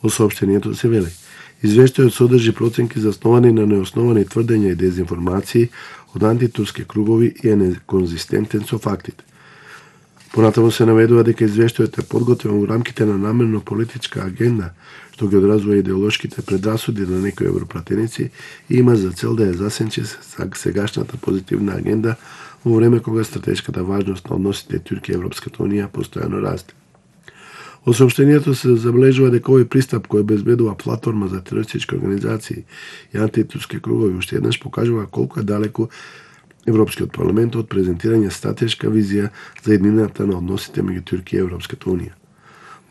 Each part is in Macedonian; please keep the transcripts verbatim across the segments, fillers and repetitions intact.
Во соопштението се вели: извештајот содржи проценки засновани на неосновани тврдења и дезинформации од антитурски кругови и е неконзистентен со фактите. Понатаму се наведува дека извештајот е подготвен во рамките на намерно политичка агенда, што ги одразува идеолошките предрасуди на некои европратеници и има за цел да ја засенчи сегашната позитивна агенда во време кога стратешката важност на односите Туркија и Европската унија постојано расте. Во соопштението се забележува дека овој пристап кој обезбедува платформа за терористички организации и антитурски кругови уште еднаш покажува колку е далеку Европскиот парламент од презентирање стратешка визија за еднината на односите меѓу Туркија и Европската унија.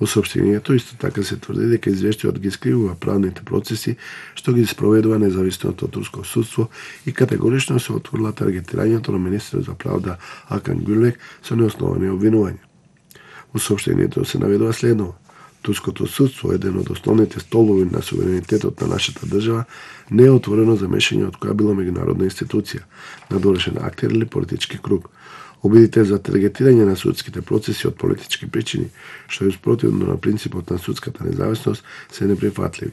Во соопштението исто така се тврди дека извештајот ги скривува правните процеси што ги спроведува независното турско судство и категорично се отворила таргетирањето на министерот за правда Акан Гюлек со неосновани обвинувања. Во соопштението се наведува следново: турското судство, еден од основните столбови на суверенитетот на нашата држава, не е отворено за мешање од која било меѓународна институција, надорешен актер или политички круг. Обидите за таргетирање на судските процеси од политички причини, што е спротивно на принципот на судската независност, се неприфатливи.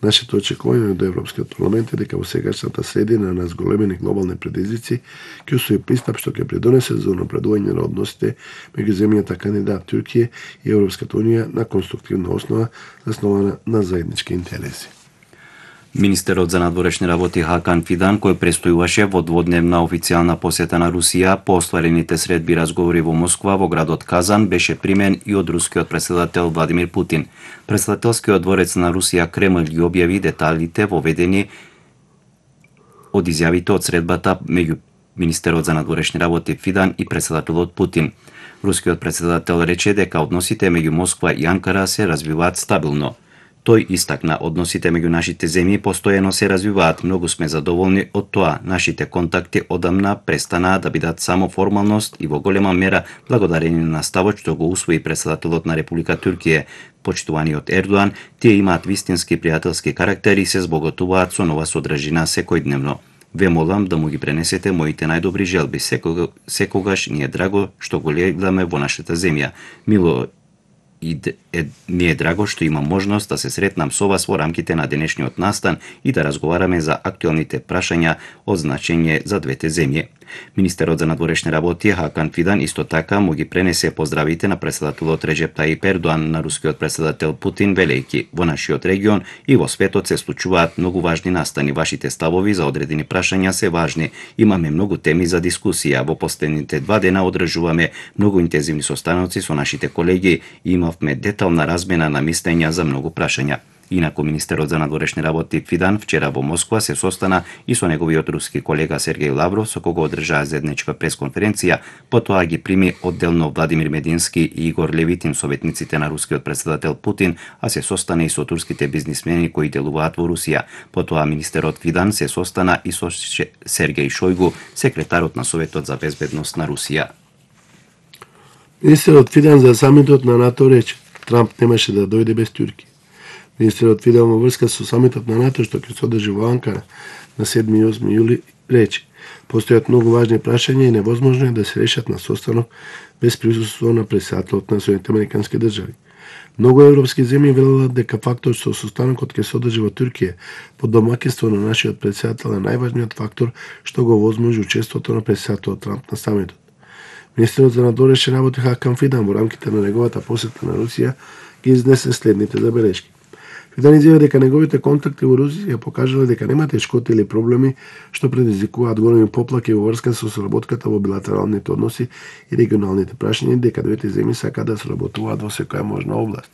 Нашето очекување до Европскиот парламент е дека во сегашната средина на зголемени глобални предизвици ќе усвои пристап што ќе придонесе за унапредување на односите меѓу земјата кандидат Туркија и Европската унија на конструктивна основа заснована на заеднички интереси. Министерот за надворешни работи Хакан Фидан, кој престојуваше во дводневна официјална посета на Русија по остварените средби разговори во Москва во градот Казан, беше примен и од рускиот претседател Владимир Путин. Претседателскиот дворец на Русија Кремљ ги објави деталите воведени од изјавите од средбата меѓу министерот за надворешни работи Фидан и претседателот Путин. Рускиот претседател рече дека односите меѓу Москва и Анкара се развиваат стабилно. Тој истакна: односите меѓу нашите земји постојано се развиваат, многу сме задоволни од тоа. Нашите контакти одамна престанаа да бидат само формалност и во голема мера благодарение на ставот што го усвои претседателот на Република Туркија, почитуваниот Ердоан, тие имаат вистински пријателски карактер и се збогатуваат со нова содржина секојдневно. Ве молам да му ги пренесете моите најдобри желби. Секогаш, секогаш ни е драго што го гледаме во нашата земја. Мило и е, ми е драго што имам можност да се сретнам со вас во рамките на денешниот настан и да разговараме за актуелните прашања од значење за двете земји. Министерот за надворешни работи Хакан Фидан исто така му ги пренесе поздравите на претседателот Реджеп Таип Ердоан на рускиот претседател Путин, велејќи: во нашиот регион и во светот се случуваат многу важни настани. Вашите ставови за одредени прашања се важни. Имаме многу теми за дискусија. Во последните два дена одржуваме многу интензивни состаноци со нашите колеги и имавме детална размена на мислења за многу прашања. Инаку министерот за надворешни работи Фидан вчера во Москва се состана и со неговиот руски колега Сергеј Лавров, со кого одржаа заедничка пресконференција, потоа ги прими одделно Владимир Медински и Игор Левитин, советниците на рускиот претседател Путин, а се состана и со турските бизнисмени кои делуваат во Русија. Потоа министерот Фидан се состана и со Сергеј Шојгу, секретарот на Советот за безбедност на Русија. Министерот Фидан за самитот на НАТО рече: Трамп немаше да дојде без Туркија. Министерот Фидан во врска со самитот на НАТО што ќе се одржи во Анкара на седми и осми јули рече: постојат многу важни прашања и невозможно е да се решат на состанок без присуство на претседателот на Соединетите Американски држави. Многу европски земји велат дека факторот што состанокот ќе се одржи во Туркија под домаќинство на нашиот претседател е најважниот фактор што го возможи учеството на претседателот Трамп на самитот. Министерот за надворешни работи Хакан Фидан во рамките на неговата посета на Русија ги изнесе следните забелешки. Фидан изјави дека неговите контакти во Русија покажале дека нема тешкоти или проблеми што предизвикуваат големи поплаки во врска со соработката во билатералните односи и регионалните прашања, дека двете земји сакаат да соработуваат во секоја можна област.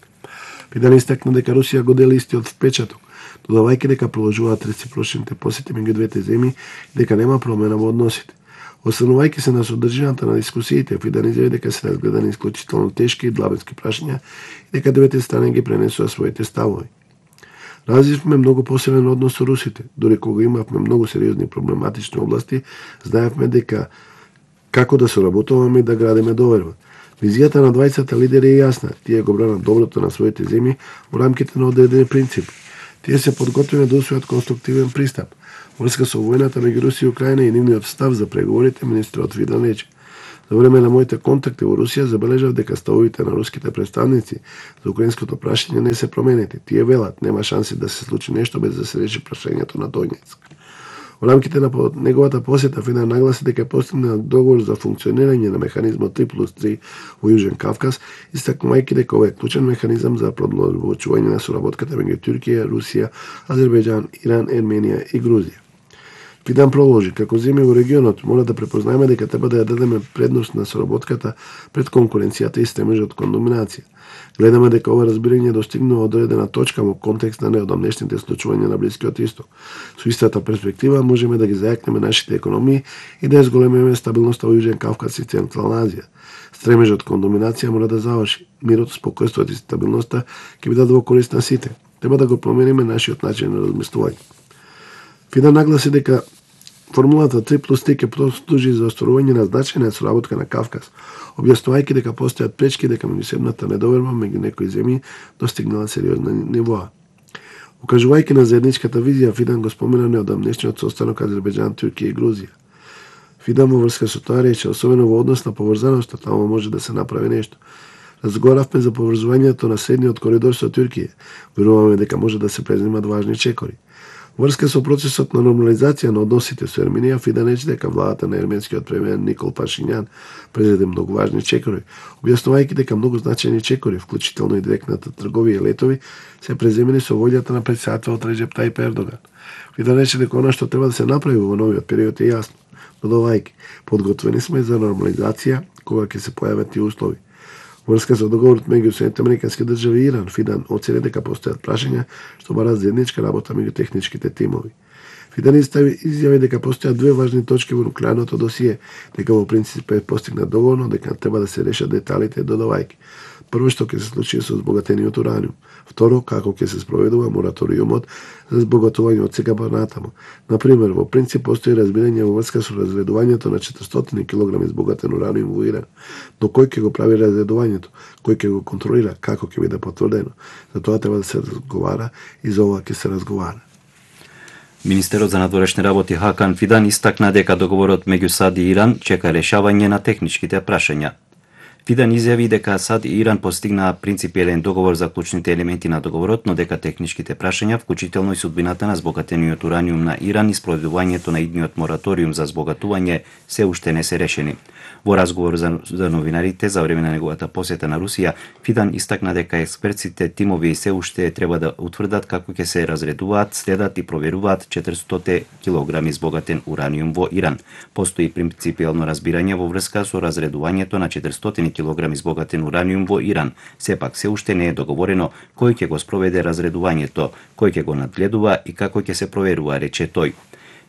Фидан истакна дека Русија го дели истиот впечаток, додавајќи дека продолжуваат реципрочните посети меѓу двете земји и дека нема промена во односите. Останувајќи се на содржината на дискусиите, Фидан изјави дека се разгледани исклучително тешки и длабоки прашања и дека двете страни ги пренесува своите ставови. Развивме многу посебен однос со русите, дори кога имавме многу сериозни проблематични области, знаевме дека како да соработуваме и да градиме доверба. Визијата на двајцата лидери е јасна, тие го бранат доброто на своите земји во рамките на одредени принципи. Тие се подготвени да усвојат конструктивен пристап. Врска со војната меѓу Русија и Украина и нивниот став за преговорите, министерот Фидан рече: За време на моите контакти во Русија забележав дека ставовите на руските представници за украинското прашање не се променети. Тие велат, нема шанси да се случи нешто без да се реши прашањето на Донецк. Во рамките на неговата посета Фидан нагласи дека постигна договор за функционирање на механизмот три плюс три во Јужен Кавказ, истакнувајќи дека ова е клучен механизам за продолжување на соработката меѓу Туркија, Русија, Азербејџан, Иран, Ерменија и Грузија. Фидан продолжи, како земји во регионот мора да препознаеме дека треба да ја дадеме предност на соработката пред конкуренцијата и стремежот кон доминација. Гледаме дека ова разбирање достигнува одредена точка во контекст на неодамнешните случувања на Блискиот Исток. Со истата перспектива можеме да ги зајакнеме нашите економии и да ја зголемиме стабилноста во Јужен Кавказ и Централна Азија. Стремежот кон доминација мора да заврши. Мирот, спокојството и стабилноста ќе бидат во корист на сите. Треба да го промениме нашиот начин на размислување. Фидан нагласи дека формулата три плюс три ќе послужи за остварување на значајна соработка на Кавказ, објаснувајќи дека постојат пречки дека меѓусебната недоверба меѓу некои земји достигнала сериозна нивоа. Укажувајќи на заедничката визија, Фидан го спомена неодамнешниот состанок Азербејџан, Туркија и Грузија. Фидан во врска со тоа рече, особено во однос на поврзаноста, таму може да се направи нешто. Разговаравме за поврзувањето на средниот коридор со Туркија. Веруваме дека може да се преземат важни чекори. Врска со процесот на нормализација на односите со Ерменија, Фидан рече дека владата на ерменскиот премиер Никол Пашињан презеде многу важни чекори, објаснувајќи дека многу значајни чекори, вклучително и директната трговија и летови, се преземени со волјата на претседателот Реджеп Тајип Ердоган. Фидан рече дека она што треба да се направи во новиот период е јасно, додавајќи, подготвени сме за нормализација кога ќе се појават тие услови. Врска со договорот меѓу Соединетите американски држави и Иран, Фидан оцени дека постојат прашања што бараат заедничка работа меѓу техничките тимови. Фидан изјави дека постојат две важни точки во нуклеарното досие, дека во принцип е постигнат договор, но дека треба да се решат деталите, додавајќи. Прво што ќе се случи со збогатениот ураниум. Второ, како ќе се спроведува мораториумот за збогатување од сега натаму. Например, во принцип постои разбирање во врска со разредувањето на четиристотини килограми збогатен ураниум во Иран. Но кој ќе го прави разредувањето? Кој ќе го контролира? Како ќе биде потврдено? За тоа треба да се разговара и за ова ќе се разговара. Министерот за надворешни работи Хакан Фидан истакна дека договорот меѓу САД и Иран чека решавање на техничките прашања. Фидан изјави дека САД и Иран постигнаа принципиелен договор за клучните елементи на договорот, но дека техничките прашања, вклучително и судбината на збогатениот ураниум на Иран и спроведувањето на идниот мораториум за збогатување, се уште не се решени. Во разговор за, за новинарите за време на неговата посета на Русија, Фидан истакна дека експертските тимови се уште треба да утврдат како ќе се разредуваат, следат и проверуваат четиристотини килограми збогатен ураниум во Иран. Постои принципиелно разбирање во врска со разредувањето на четиристотини килограми збогатен ураниум во Иран. Сепак се уште не е договорено кој ќе го спроведе разредувањето, кој ќе го надгледува и како ќе се проверува, рече тој.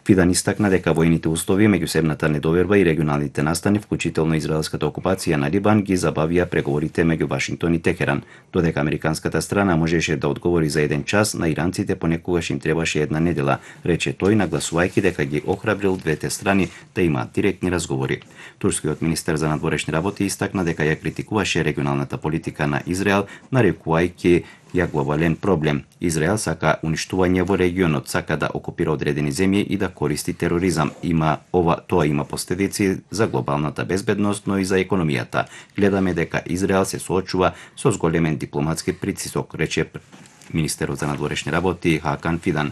Фидан истакна дека војните услови, меѓусебната недоверба и регионалните настани, вклучително израелската окупација на Либан, ги забавија преговорите меѓу Вашингтон и Техеран, додека американската страна можеше да одговори за еден час, на иранците понекогаш им требаше една недела, рече тој, нагласувајќи дека ги охрабрил двете страни да имаат директни разговори. Турскиот министер за надворешни работи истакна дека ја критикуваше регионалната политика на Израел, нарекувајќи ја глобален проблем. Израел сака уништување во регионот, сака да окупира одредени земји и да користи тероризам. Има ова, тоа има последици за глобалната безбедност, но и за економијата. Гледаме дека Израел се соочува со зголемен дипломатски притисок, рече министерот за надворешни работи Хакан Фидан.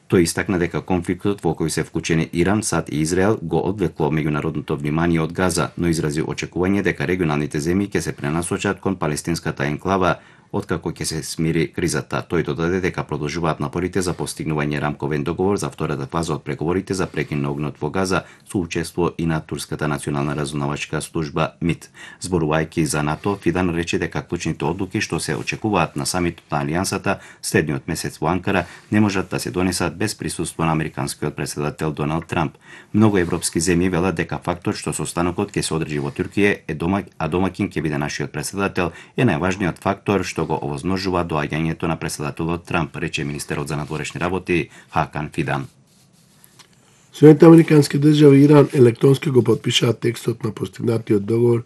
Тој истакна дека конфликтот во кој се вклучени Иран, САД и Израел го одвлекло меѓународното внимание од Газа, но изрази очекување дека регионалните земји ќе се пренасочат кон палестинската енклава откако ќе се смири кризата. Тој додаде дека продолжуваат напорите за постигнување рамковен договор за втората фаза од преговорите за прекин на огнот во Газа со учество и на Турската национална разузнавачка служба МИД. Зборувајќи за НАТО, Фидан рече дека клучните одлуки што се очекуваат на самитот на Алијансата следниот месец во Анкара не можат да се донесат без присуство на американскиот претседател Доналд Трамп. Многу европски земји велат дека фактот што состанокот ќе се одржи во Туркија е домак, а домакин ќе биде нашиот претседател е најважниот фактор што го овозможува доаѓањето на претседателот Трамп, рече министерот за надворешни работи Хакан Фидан. Соединетите американски држави и Иран електронски го потпишаат текстот на постигнатиот договор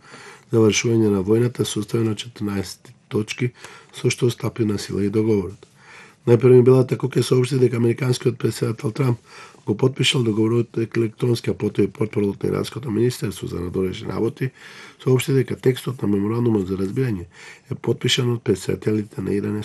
за вршување на војната составен од четрнаесет точки, со што стапи на сила и договорот. Најпрво ми била тако ќе соопшти дека американскиот претседател Трамп го потпишал договорот електронски, а потоа и портпаролот на иранското министерство за надворешни работи соопшти дека текстот на меморандумот за разбирање е потпишан од претседателите на Иран и